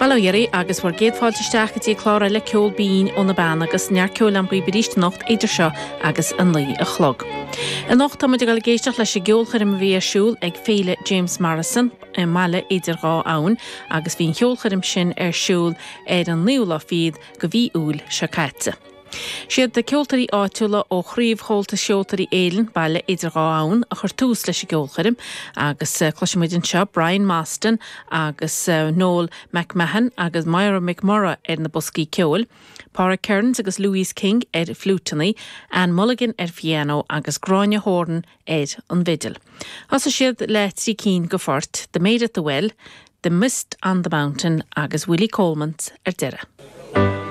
Bail ó Dhia oraibh agus bhur gcéad fáilte isteach go dtí clár eile Ceol Binn ó na Beanna agus neart ceoil agam dhaoibh arís anocht idir seo agus a 9 a chlog. Anocht tá muid ag dul ag éisteacht leis an gceolchoirm a bhí ar siúl ag Féile James Morrison i mBaile Idir Dhá Abhainn agus bhí an cheolchoirm sin ar siúl ar an naoú lá fichead de mhí Iúil seo caite. Siad ceoltóirí áitiúla ó Chraobh Chomhaltas Cheoltóirí Éireann, Baile Idir Dhá Abhainn, a chuir tús leis an gceolchoirm agus cloisfidh muid anseo Brian Mostyn agus Noel McMahon agus Moira McMurrough ar na boscaí ceoil, Pádraig Kearns agus Louise King ar fliúiteanna, Anne Mulligan ar phianó agus Gráinne Horan ar an bhfidil. Thosaigh siad le trí cinn de phoirt, The Maid at the Well, The Mist on the Mountain agus Willie Coleman's ar deireadh.